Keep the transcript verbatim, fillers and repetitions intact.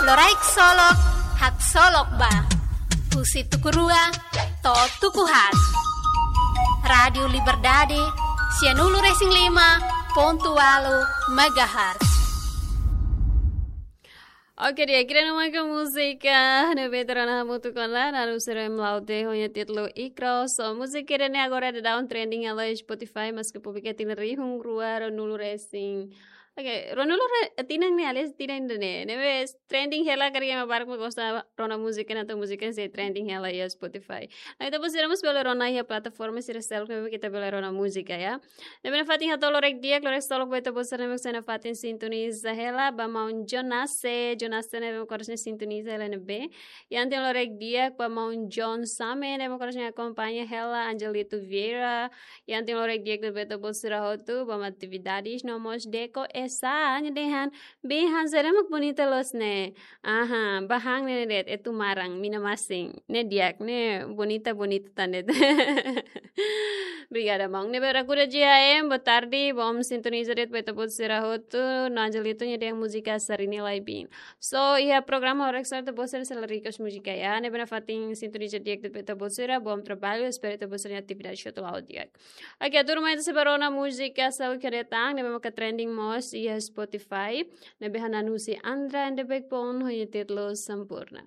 Loraik Solok, haksolok ba. Husi tuku rua to'o tuku haat. Rádiu Liberdade, sianulu-resin-lima pontu ualu megahertz. Oke, di'ak, ida-ne'e mak múzika ne'ebé ita rona hamutuk ona, naran sira-ne'e Mlaute, ho nia títulu Ikro. So, múzika ida-ne'e agora daudaun trending hela iha Spotify, maske publika tinan rihun rua ruanulu-resin. Oke, ruanulu re-, tinan ne'e, aliás, tinan ida-ne'e. Ne'ebé trending hela, karik ema barak mak gosta rona múzika, entaun múzika sei trending hela iha Spotify. No ita-boot sira mós bele rona iha plataforma sira seluk ne'ebé ita bele rona múzika, ya. Ne'ebé nafatin hato'o loraik di'ak, loraik solok ba ita-boot sira ne'ebé sei nafatin sintoniza hela, ba maun Jonase, Jonase ne'ebé mak oras ne'e sintoniza hela ne'ebé. Iha ita-nia loraik di'ak ba maun John Same, ne'ebé mak oras ne'e akompaña hela, Angelito Vieira. Iha ita-nia loraik di'ak ba ita-boot sira hotu, ba maun Atividades, no mós Deko Esa, nia dehan, "Biin han sira mak bonita loos ne'e." Aha, ba han ne'e de'it, Etu Maran, Mina Masin. Ne'e di'ak, ne'e bonita, bonita tan de'it. Obrigada, maun. Ne'ebé Rakuda J H M, boa tarde, bom sintoniza de'it ba ita-boot sira hotu, no Angelito nia dehan múzika Sarini Laibin. So, iha programa Orak Sar ita-boot sira sei la request múzika, ya. Ne'ebé nafatin sintoniza di'ak de'it ba ita-boot sira, bom trabalho, espera ita-boot sira-nia atividade hotu la'o di'ak. Oke, turma, ita sei bá rona múzika seluk ne'ebé mak trending mós iha Spotify. Ne'ebé hanesan husi Andra and the Backbone, ho nia títulu Sempurna.